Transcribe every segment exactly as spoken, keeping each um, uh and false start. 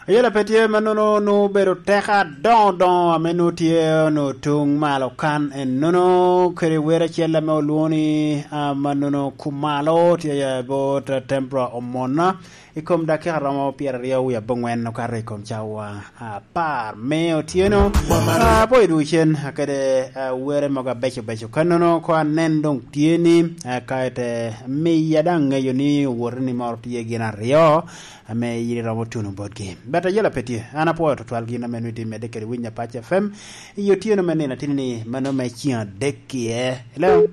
Ayela pe tye mannono, nwoŋo obedo teko adoŋo doŋo ame nwoŋo tye onwoŋo tuŋ malo kan ennono, kede wer acel ame olwoŋo ni, ah, mannono kumalo tye ya i bot Tempura Omona i kom dakika romo pyeraryo wie abongwen okato i kom cawa apar me otyeno. Ah, apwoyo dwogo cen, ah, kede, ah, were mogo abeco beco. Kannono ko anen doŋ tye ni, ah, ka ite miya daŋ ŋeyo ni owote ni moro tye gin aryo ame yin iromo tuno botgi. But ayela pe tye. An apwoyo tutwal gin ame nwoŋo itye medde kede Winyo Apac F M i otyeno me nino atini ni mano me ceng adek kie. Hello?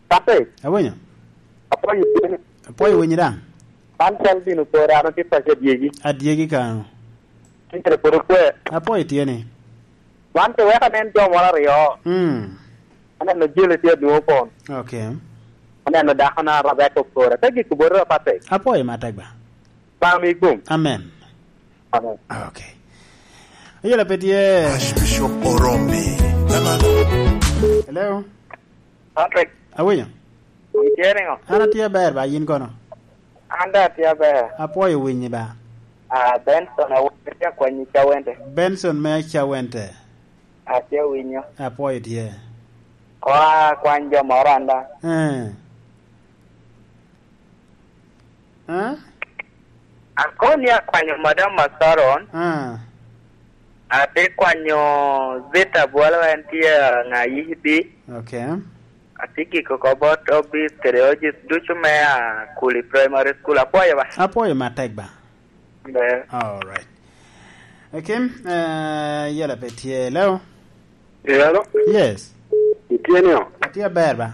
Pape, awinyo? Apwoyo tye ni. Apwoyo winyi daŋ. Man cal bino pore, an otye paco adyegi. Adyegi kano. Tye kede pwod okwe. Apwoyo tye ni. Wan pe wek anen jo moro aryo. Mm. Aneno jele tye adwoŋ opon. Okay. Aneno dako na Rebecca okora. Pe gik obotoro, Patrick. Apwoyo matek ba. Ba mi gum. Amen. Amen. Okay. Ayela pe tye. Archbishop Orombi. Hello? Patrick. Awinyo? Itye niŋo? An atye aber ba, yin kono? An daŋ atye aber. Apwoyo winyi ba. Ah, Benson, awo-, atye akwanyi Cawente. Benson me Cawente. Atye awinyo. Apwoyo tye. Ko akwany jo moro an daŋ. Eh. Eh? Akoni akwanyo Madam Masaron. Ah. Atye kwanyo Zita Bwalo, en tye ŋa yibi. Okay. Atye giko oko bot obis kede ojis ducu me Akuli Primary School. Apwoyo ba. Apwoyo matek ba. Ber. All right. Akim, eh, yela pe tye. Hello? Hello? Yes. Itye niŋo? Atye aber ba.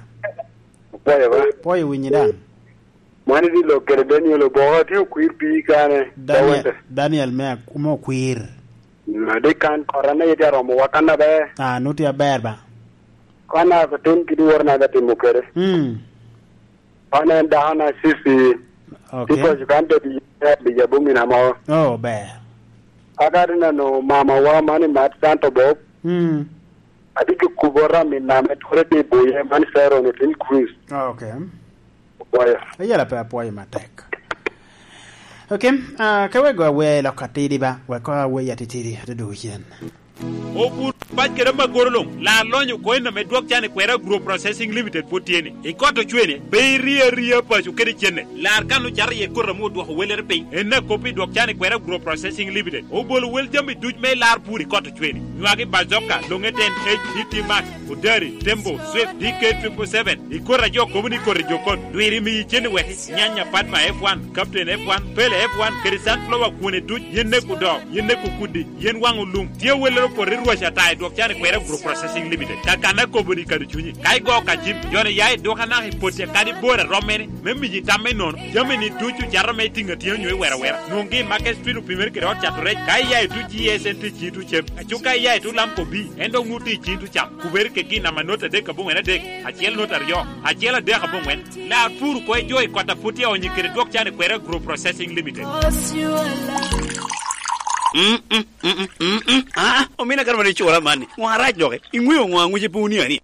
Apwoyo ba. Pwoyo winyi daŋ. Mano ni lok kede Daniel Oboka, atye okwir pii kane. Daniel, Dawete. Daniel me ak-, me okwir. Mm, adi kan kora ne itye aromo wa kan aber. Ah, nu tye aber ba. Kan a tim kidi wor na da timo kede. Mm. An en dako na Sisi. Okay. Ti koc kan te bi, bi jabo mina mo. Oh, ber. Aka ti neno mama wa mani Mat Santo Bob. Mm. Adi ki kubo rami na me ture ti boye man Sharon Otin Chris. Oh, okay. Apwoyo. Ayela pe apwoyo matek. Okay, ah, ke wego awe lok atidi ba, wek awe atitidi, atudu cen. Obur pac kede amagoro luŋ, lar lonyo coin ame dwok can i kwera Agro Processing Limited pwod tye ni. I kot ocwene, pe iri aria paco kede cenne. Lar kan ocato iye koti ame odwoko welere piny. En akop i dwok can i kwera Agro Processing Limited. Obolo wel jami duc me lar pur i kot ocwene. Nywagi bazoka, longe ten H D T Max, Odari, Tembo, Swift, D K triple seven. I koti a jo kobo ni koti jo kot. Dwiri miyi cen i wek nyanya Padma F one, Captain F one, Pele F one, kede sunflower kwone duc, yen nek odoo, yen nek okudi, yen waŋ olum. Tye awellere opoto i rwac ata i dwok can i kwera Agro Processing Limited. Ka kan akobo ni kado cunyi. Ka igo ka cim, joni ya i duka naka i poti akadi bor a rommene, me miyi tam me nono. Jami ni ducu cato me tiŋ atina nyo i wera wera. Nwoŋgi i Market Street opimere kede ot cato rec. Ka iya i tuc G S N T ci tuc cem. Aco ka iya i tuc Lamco B, en dok nwoŋo tye i cin tuc cam. Kubere kegi i namba not adek aboŋwen adek, acel not aryo, acel adek aboŋwen. Lar pur kwo i jo i kot a pwod tye onyo kede dwok can i kwera Agro Processing Limited. Mm, mm, mm, mm, mm, mm. Ah, omina kara mani cura mani. Ŋo arac doki? Iŋweo ŋo aŋwice pe wunia ni?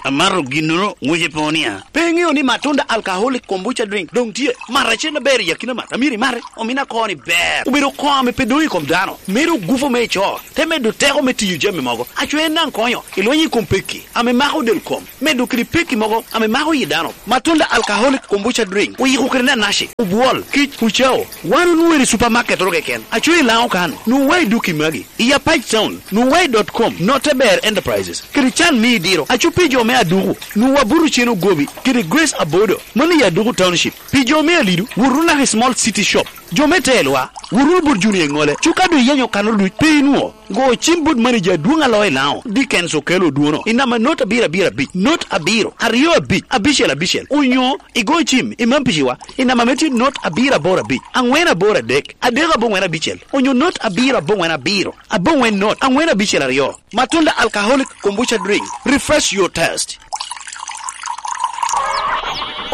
Amato ginnono, ŋwice pe wunia. Pe iŋeo ni Matunda Alcoholic Kombucha Drink doŋ tye? Mat acel aber i akina mat. Amyero imate. Omina koni ber. Obedo koŋ ame pe doŋ i kom dano. Medo gufu me ico. Te medo teko me tiyo jami mogo. Aco en daŋ konyo i lweny i kom pekki ame mako del kom, medo kede pekki mogo ame mako yi dano. Matunda Alcoholic Kombucha Drink oyiko kede nanaci, obwol, kic, ucao. Wan onwoŋo i supermarket oro keken. Aco i Laŋo kan, nwoŋo wa i duki magi. I Apac Town, nwoŋo wa i dot com, Noteber Enterprises, kede can me idiro. Aco pi jo me Aduku, nwoŋo wa buto cen ogobi, kede Grace Abodo, mano i Aduku Township. Pi jo me Alidu, wot wunu naka i Small City Shop. Jo me Telwa, wot wunu bot Junior Iŋole. Cuka doŋ iyenyo kanoro duc, pe inwoŋo. Go cim bot manager adwoŋ a loo i Laŋo, Dickens Okello Odwono, i namba not abiro abiro abic, not abiro, aryo abic, abicel abicel, onyo igo cim i Mampiciwa i namba me tye not abiro aboro abic, aŋwen aboro adek, adek aboŋwen abicel, onyo not abiro aboŋwen abiro, aboŋwen not, aŋwen abicel aryo. Matunda Alcoholic Kombucha Drink, refresh your taste.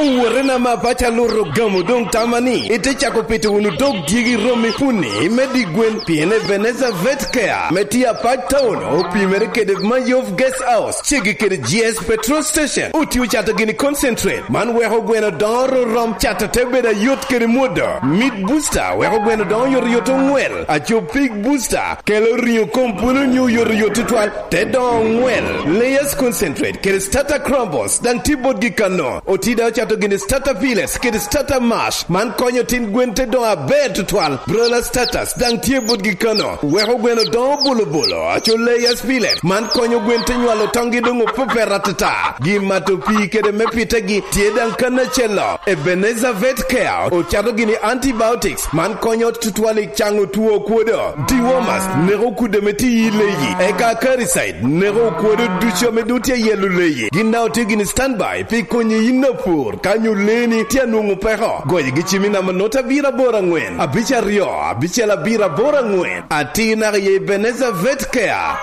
Owotena ma paco aluro gamo doŋ tama ni ite cako pito wunu dog dyegi romi puni me di gwen, pien Ebenezer Vet Care me tye apac town opimere kede Mayov Guest House, ceggi kede G S Petrol Station. Otio cato gini concentrate, man weko gweno doŋo rom, cato te bedo ayot kede mwodo. Meat Booster weko gweno doŋo yot yot oŋwel. Aco Pig Booster kelo ringo kom pwolo nyo yot yot tutwal, te doŋo oŋwel. Layers Concentrate kede Starter Crumbles daŋ tye botgi kano. Otida ocato gini Starter Pellets kede Starter Mash, man konyo tin gwen te doŋo aber tutwal. Broiler Starters daŋ tye botgi kano, weko gweno doŋo bolo bolo. Aco Layers Pellet, man konyo gwen te nywalo toŋgi doŋ opepet atata. Gin mato pii kede me pitegi tye daŋ kan acel-lo. Ebenezer Vet Care ocato gini antibiotics, man konyo tutwal i caŋo two okwodo. Dewormers neko kudde ame tye i leyi, eka Acaricide neko okwodo ducu ame doŋ tye i yelo leyi. Gin daŋ otye gini standby pi konyi yin apur ka nyo leeni tye anwoŋo peko. Goyogi cim i namba not abiro aboro aŋwen, abic aryo, abicel abiro aboro aŋwen. Atir naka i Ebenezer Vet Care.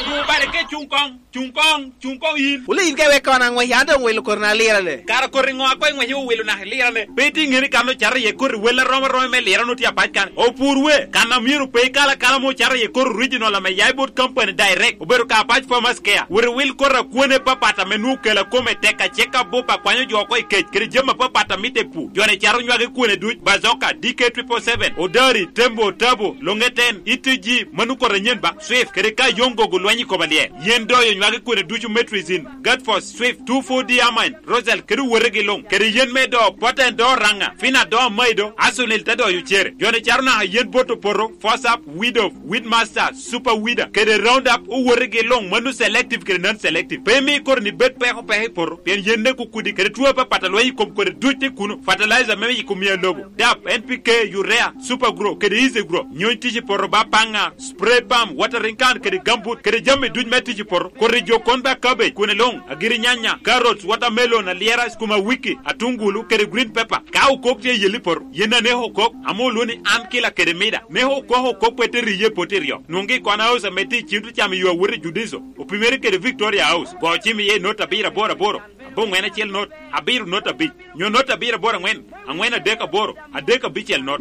Cuŋ bale ke cuŋ koŋ, cuŋ koŋ, cuŋ koŋ yin. Wule yin ka iwek kono aŋwec, an doŋ wilo koti na lirane. Kara koti ŋo a koŋ iŋwec iwilo naka ilirane? Pe itye ŋeni kan ocato iye koti wel arom aromi me lirane otye apac kan. Opur we, kan a myero pe ikal akala ame ocato iye koti original ame ya i bot company direct. Obedo ka apac Farmers Care. Wot iwil koti akwene papat ame nwoŋo kela kome tek acek abup akwanyo jo oko i kec, kede jami apapat a mitte i pur. Jo-ni cato nywagi kwene duc, Bazooka, D K triple seven, Odari, Tembo, Tabo, Longeten, E T G, mano koti anyen ba, Swift, kede ka Yongo gulwenyo i kom alyel. Yen doyo nywagi kwene ducu, Metrizin, Gatfos, Swift, two four D Amine, Rosal, kede owotegi luŋ, kede yen me do, Poten do Raŋa, Fina do Amaido, Asunil te doyo cere. Jo-ni cato naka yen bot opoto, Fosap, Weed of, Weedmaster, Super Weeder, kede Roundup, owotegi luŋ, mano selective kede non-selective. Pe imi koti-ni bed peko peko i poto, pien yen neko kudi kede two apapat a lweny i kom kodi duc tye kuno. Fertilizer me yiko mia lobo, dap, N P K, urea, Super Grow, kede Easy Grow. Nyony tic i poto ba paŋa, spray pump, watering can, kede gambut, kede jami duc me tic i poto. Koti jo kon ba cabbage, kwene luŋ, agiri nyanya, carrots, watermelon, alyera, skuma wiki, atungulu, kede green pepper. Ka okok tye i yel i poto, yen aneko okok, ame olwoŋo ni an kila kede mida. Neko okok okok pe te riye i poto iryo. Nwoŋgi i Kona House ame tye i Cintro Cam i yo awot i Judiso, opimere kede Victoria House. Go cim iye i not abiro aboro aboro, aboŋwen acel not, abiro not abic, nyo not abiro aboro aŋwen, aŋwen adek aboro, adek abicel not.